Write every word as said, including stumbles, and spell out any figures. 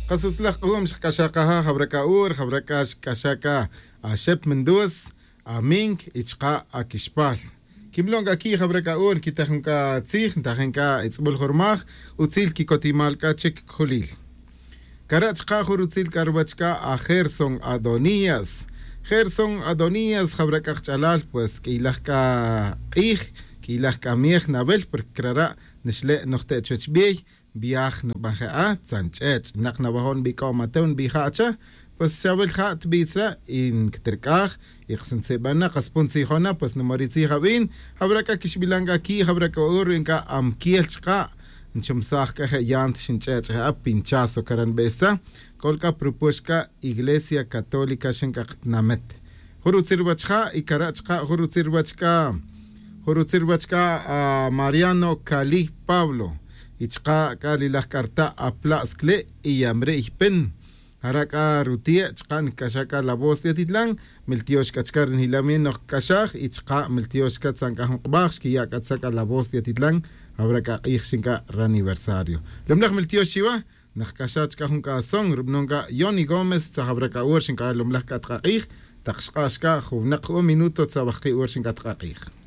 Qasutzlaj q'um xqk'axaqaja jabraka ur jabraka xk'axaka axep Mendoza amink y chqa akixpal kimlon k'a ki jabraka ur kitajun k'a tzij ntajin k'a itz'b'ul jurmaj utzil kikotimal k'a chik kjulil kara chqa jur utzil k'a ruwach k'a a Gerson Adonías Gerson Adonías jabraka qch'alal pues k'iylaj k'a q'ij k'iylaj k'a miej nab'el porque krara' nixle' nojte' chuwech b'iey viaj nub'anje'a tzanch'ech' naq nawajo' nb'ik'o Mateo nb'ija acha pues xawil ja tb'itzra y nktirk'aj y qsintzib'ana qaspun tzijona pues numoritzij ab'in jabraka kixb'ilan k'a ki jabraka ur inka amkiel chqa nchumsaj k'a je yant xinch'ech' je'a pinchazo karan b'esa k'olk'a propuexka Iglesia Católica xink'aqtnamet jur utzil ruwach ja y kara' chqa jur utzil ruwach k'a jur utzil ruwach k'a a Mariano Cali Pablo y chqa k'a lilaj k'arta aplaskle y yamre pen jarak'a rutie chqa nk'axaka la voz de Atitlán miltiox k'achkar njilamin noj k'axaj y chqa miltiox katzank'aj nqb'aj xkiya' k'atzaka la voz de Atitlán habrá k'a q'ij xinka raniversario lumlaj miltiox chiwa naj k'axaj chqa jun k'ason rub'nonka Johnny Gómez tzajabraka ur xinka lumlaj k'atq'aq'ij taq xq'axka juwnaq un minuto tzab'ajqi ur xinka tq'aq'ij.